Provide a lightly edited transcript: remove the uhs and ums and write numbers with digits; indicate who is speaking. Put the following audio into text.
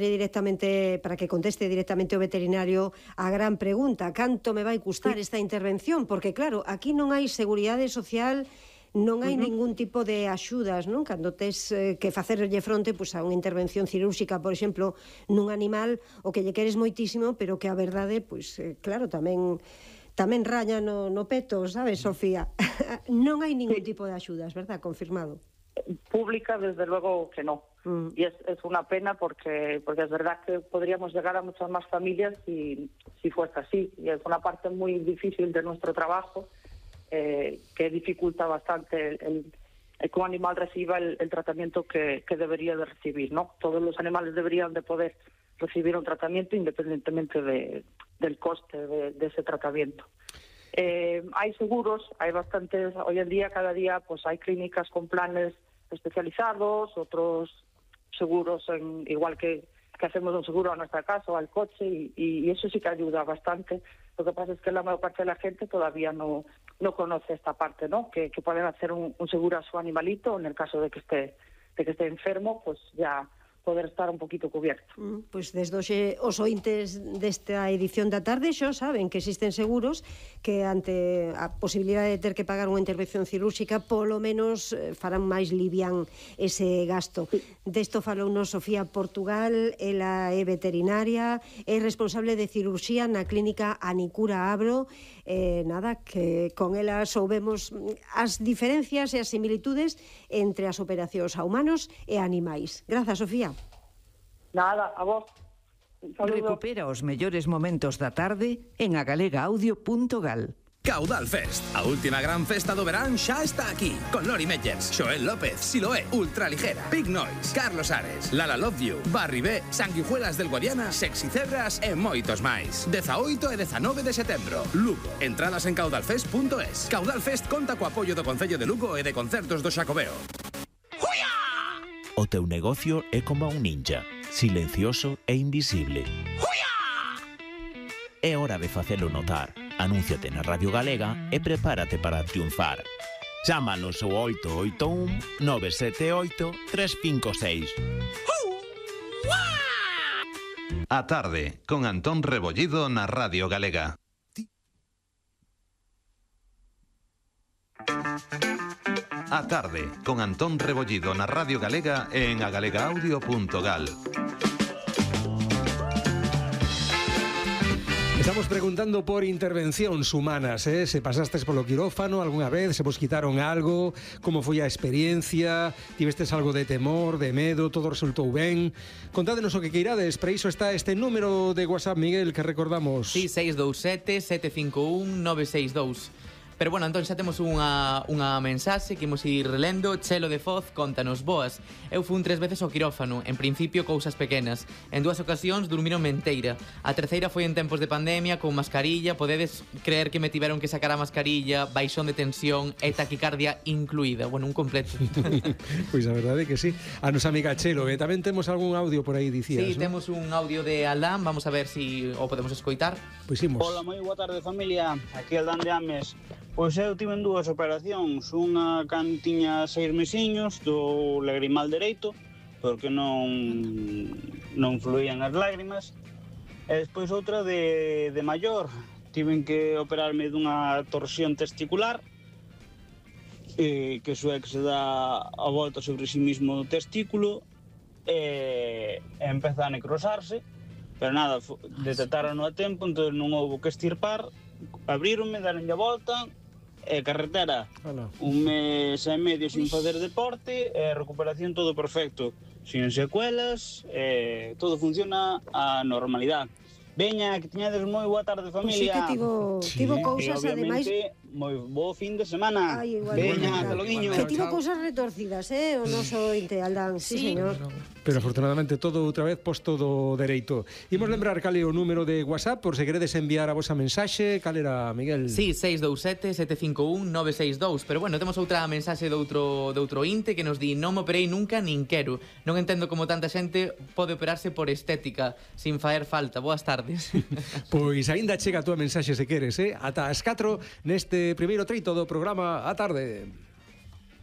Speaker 1: directamente, para que conteste directamente o veterinario a gran pregunta: canto me vai custar esta intervención? Porque claro, aquí non hai seguridade social, non hai ningún tipo de axudas, non? Cando tes que facerlle fronte a unha intervención cirúrxica, por exemplo, nun animal o que lle queres moitísimo, pero que a verdade, claro, tamén raña no peto, sabes, Sofía? Non hai ningún tipo de axudas, verdad? Confirmado.
Speaker 2: Pública, desde luego que no. Y es una pena porque es verdad que podríamos llegar a muchas más familias si fuese así. Y es una parte muy difícil de nuestro trabajo que dificulta bastante que un animal reciba el tratamiento que debería de recibir, ¿no? Todos los animales deberían de poder recibir un tratamiento independientemente del coste de ese tratamiento. Hay seguros, hay bastantes, hoy en día, cada día, pues hay clínicas con planes especializados, otros seguros, igual que hacemos un seguro a nuestra casa o al coche, y eso sí que ayuda bastante. Lo que pasa es que la mayor parte de la gente todavía no conoce esta parte, ¿no? Que pueden hacer un seguro a su animalito, en el caso de que esté enfermo, pues ya poder estar un poquito cubierto.
Speaker 1: Pois desde hoxe os ointes desta edición da tarde xa saben que existen seguros que ante a posibilidade de ter que pagar unha intervención cirúrxica polo menos farán máis livián ese gasto. Desto falounos Sofía Portugal, ela é veterinaria, é responsable de cirurxía na clínica Anicura Abro. Que con ela soubemos as diferencias e as similitudes entre as operacións a humanos e a animais. Grazas, Sofía.
Speaker 2: Nada, a vos.
Speaker 3: Recupera os mellores momentos da tarde en agalegaudio.gal.
Speaker 4: Caudal Fest, a última gran festa do verán xa está aquí, con Lori Meyers, Xoel López, Siloé, Ultraligera, Big Noise, Carlos Ares, Lala Love You, Barry B, Sanguijuelas del Guadiana, Sexy Cebras e moitos máis. 18 e 19 de setembro, Lugo. Entradas en caudalfest.es. Caudal Fest conta co apoio do Concello de Lugo e de Concertos do Xacobeo.
Speaker 5: O teu negocio é como un ninja, silencioso e invisible. É hora de facelo notar. Anúnciate na Radio Galega e prepárate para triunfar. Chámanos ao 881 978 356.
Speaker 6: A tarde, con Antón Rebollido na Radio Galega. A tarde, con Antón Rebollido na Radio Galega e en agalegaudio.gal.
Speaker 7: Estamos preguntando por intervencións humanas, se pasastes polo quirófano algunha vez, se vos quitaron algo, como foi a experiencia, tivestes algo de temor, de medo, todo resultou ben. Contádenos o que queirades, para iso está este número de WhatsApp, Miguel, que recordamos.
Speaker 8: Sí, 627 751 962. Pero bueno, entón xa temos unha mensaxe que imos ir relendo. Chelo de Foz, contanos: boas. Eu fun 3 veces ao quirófano, en principio cousas pequenas. En 2 ocasións durmiron menteira. A terceira foi en tempos de pandemia, con mascarilla. Podedes creer que me tiveron que sacar a mascarilla, baixón de tensión e taquicardia incluída. Bueno, un completo.
Speaker 7: Pois a verdade é que sí. A nosa amiga Chelo, tamén temos algún audio por aí, dicías,
Speaker 8: sí, ¿no? Temos un audio de Aldán, vamos a ver si o podemos escoitar.
Speaker 7: Pois imos.
Speaker 9: Hola, moi boa tarde, familia. Aquí Aldán de Ames. Pois eu tive en 2 operacións, unha cando tiña 6 mesiños do lagrimal dereito, porque non fluían as lágrimas, e despois outra de maior, tiven que operarme dunha torsión testicular, que iso é que se dá a volta sobre si mismo o testículo, e empeza a necrosarse, pero nada, detectaron a tempo, entón non houve que estirpar, abríronme, daronlle a volta, carretera, un mes e medio sin facer deporte, recuperación todo perfecto, sin secuelas, todo funciona a normalidade. Veña, que teñades moi boa tarde, familia.
Speaker 1: Pois sí que tivo cousas, ademais...
Speaker 9: moi bo fin de semana. Veña, ata loguiño.
Speaker 1: Que tivo cousas retorcidas, o noso inte Aldán, sí, señor.
Speaker 7: Pero afortunadamente todo outra vez posto do dereito. Imos lembrar cal é o número de WhatsApp por se queredes enviar a vosa mensaxe. Cal era, Miguel?
Speaker 8: Sí, 627 751 962. Pero bueno, temos outra mensaxe de outro inte que nos di: non me operei nunca nin quero. Non entendo como tanta xente pode operarse por estética sin faer falta. Boas tardes.
Speaker 7: Pois aínda chega a túa mensaxe se queres, ata as 4 neste primeiro treito do programa A Tarde.